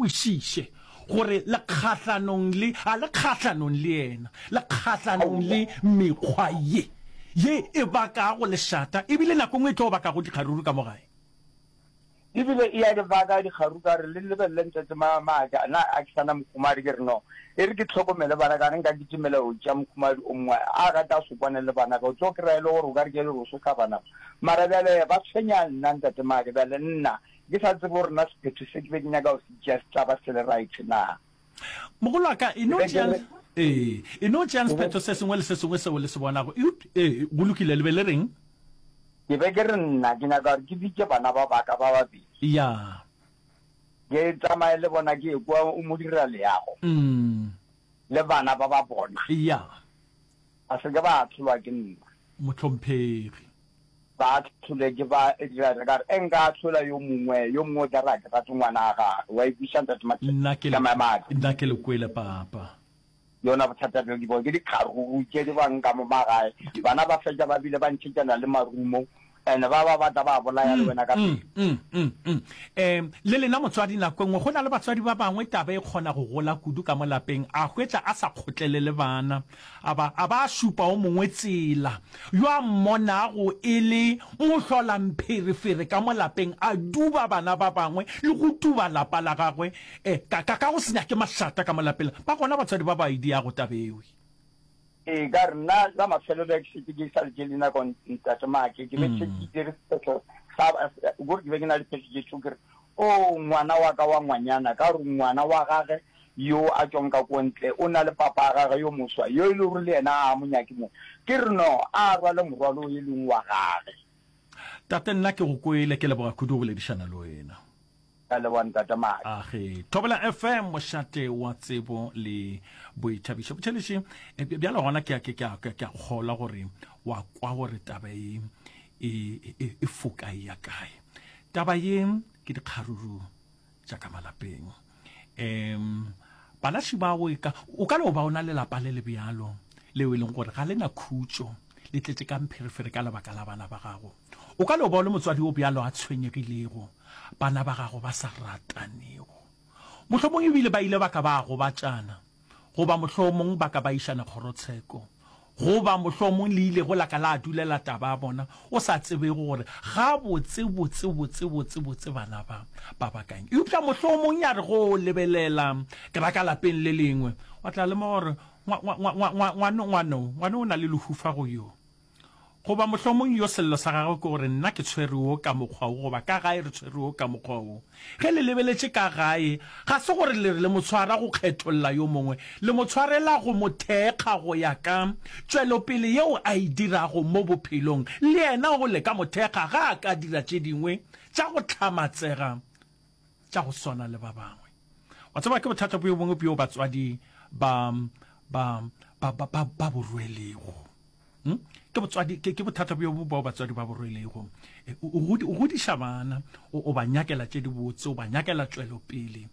kwešiše gore le kgahlanong le, a le kgahlanong le yena, le kgahlanong le mekgwa ye, ye e bakago lešata, ebile nako nngwe e tlo bakago dikgaruru ka mo gae. Ebile e ya ke baka dikgaruru ka re le lebelele ntate ma, maaka, na a ke sa na mokhumadi, ke re no, e re ke hlokomele bana ka re nka kitimela go tšea mokhumadi o mongwe, a rata a se kwane le bana ka, o tlo kry-a e le gore o ka re ke le go sotla bana ba. Mara bjale ba tshwenya nna ntate maake, bjale nna Ke sa tsebe gore na sephetho se ke be ke nyaka go se tšea se tla ba se le right na. Mogolo wa ka, e no Ke be ke tšeang, re, ee, e no tšeang ke be, sephetho se sengwe le se sengwe seo le se bonago. Eupša, ee, go lokile, le be le reng? ke be ke re nna ke nyaka gore ke bitše bana ba ba ka ba babedi. Ya. Ke tsamaye le bona ke ye kua o mo dira leago Mm. le bana ba ba bona. Ya. Ba se ke ba ahlolwa ke nna. Mohlomphegi. Ba ahlole ke ba dira re ka re e nka ahlola yo mongwe, yo mongwe o tla re a ke rate ngwana a gagwe. Wa e kwešiša Ntate Mathebe? Nna ke Ka le, maemo a ka. nna ke le kwele papa. Yona bothata bjo ke bo ke dikgaruru tše di bang ka mo magae. Bana ba fetša ba bile ba ntšhetšana le marumo and ba ba batla ba bolaya le wena ka pele. Mm, mm, mm. Um, le lena motswadi nako e nngwe go na le batswadi ba bangwe taba e kgona go gola kudu ka mo lapeng a hwetša a sa kgotlelele bana A ba, a ba a šupa o mongwe tsela, yo a mmonago e le mohlolampherefere ka mo lapeng, a duba bana ba bangwe le go duba lapa la gagwe, e, ka, ka, ka go se nyake mašata ka mo lapeng. Ba gona batswadi ba ba e diago taba ewe. Ee, ka re nna la mafelelo ge ke šetše ke sa letše le nako Ntate Maake, ke be ke šetše ke dire sephetho sa, kore ke be ke na le phetho tše two, ke re, Oo, ngwana wa ka wa ngwanyana, ka gore ngwana wa gage yo a tšwang ka ko ntle o na le papa a gage yo moswa, yo e le gore le yena ga a mo nyake mo. Ke re, No, a rwale morwalo o e leng wa gage. Tate, nna ke go kwele, ke leboga kudu go boledišana le wena. Ke a leboga, Ntate Maake. Age. Thobela FM, mošate wa tsebo le boithabišo. Botšheletše, bjale gona ke a, ke, ke a, ke a kgolwa gore wa kwa gore taba e, e, e, e foka e ya kae. Taba ye ke dikgaruru tša ka malapeng. Um balaši bao e ka, o ka no ba o na le lapa le le bjalo leo e leng gore ga le na khutšo, le tletše ka mpherefere ka lebaka la bana ba gago. O ka no ba o le motswadi o bjalo a tshwenyegilego, bana ba gago ba sa ratanego. Mohlomong ebile ba ile ba ka ba gobatšana, goba mohlomong ba ka ba išana kgorotsheko, goba mohlomong le ilego la ka la dulela taba ya bona, o sa tsebego gore gabotse, botse, botse, botse, botse bana ba ba bakang. Eupša mohlomong ya re go o lebelela, ke ra ka lapeng le lengwe, wa tla lemoga gore ngwa, ngwa, ngwa, ngwa, ngwa, ngwano, ngwano, ngwano o na le lehufa go yo. Goba mohlomong yo sello sa gagwe ke gore nna ke tshwere wo ka mokgwa wo goba ka gae re tshwere wo ka mokgwa wo. Ge le lebeletše ka gae, ga se gore le re le mo tshwara go kgetholla yo mongwe, le mo tshwarela go mo thekga go ya ka tšwelopele yeo a e dirago mo bophelong. Le yena o le ka mo thekga ga a ka dira tše dingwe tša go hlamatsega tša go swana le ba bangwe. Wa tseba, ke bothata bjo bongwe bjo batswadi ba, ba, ba, ba, ba, ba bo rwelego. Hmm? Ke botswadi, ke, ke bothata bjo bongwe bao batswadi ba bo rwelego. E, o, o, o godiša bana, o, o ba nyakela tše dibotse, o ba nyakela tšwelopele.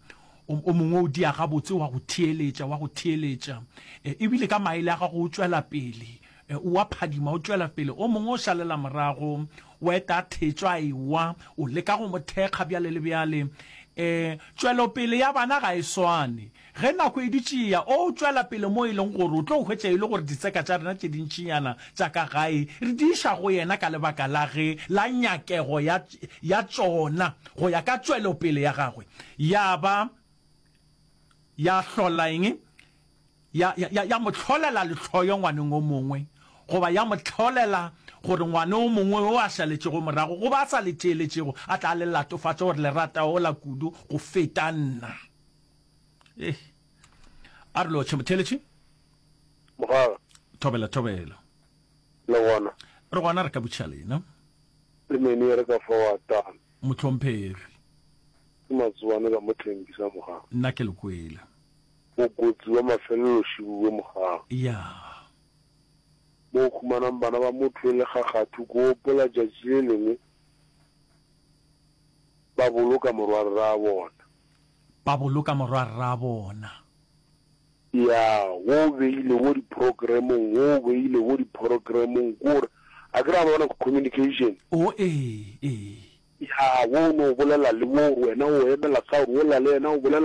O, o mongwe o dia gabotse, wa go theeletša, wa go theeletša. E, ebile ka maele a gago o tšwela pele. E, o a phadima, o tšwela pele. O mongwe o šalela morago, o eta a thetšwa a ewa, o leka go mo thekga bjale le bjale. E, tšwelopele ya bana ga e swane. Ge nako e dutše e ya, o tšwela pele mo e leng gore o tlo hwetša e le gore ditseka tša rena tše dintšinyana tša ka gae re di iša go yena ka lebaka la ge la nyakego ya, ya tšona go ya ka tšwelopele ya gagwe. Ya ba ya hlola eng? Ya, ya, ya, ya mo hlolela lehloyo ngwaneng o mongwe, goba ya mo hlolela gore ngwana o mongwe yo a šaletšego morago goba a sa le theeletšego a tla le latofatša gore le rata ola kudu go feta nna. Eh. A re lotšhe motheeletši. Mogala. Thobela thobela. Le gona. Re gona re ka botšiša lena. Le mene re ka fa wa tana. Mohlomphegi. Ke matsoane ka mo Thembisa mogala. Nna ke le kwele. Mokotsi wa mafelelo šibuwe mogala. Ya. Mo o humanang bana ba motho e le kgakgathu ke gopola tšatši le lengwe ba boloka morwarrabona. Ba boloka morwarrabona. Ya, wo o beile wo diprogramong, wo o beile wo diprogramong, ke gore, a ke re a bona communication. O, ee, ee. Ya, wo o no bolela le wo, gore wena o emela ka gore wola le yena o bolela.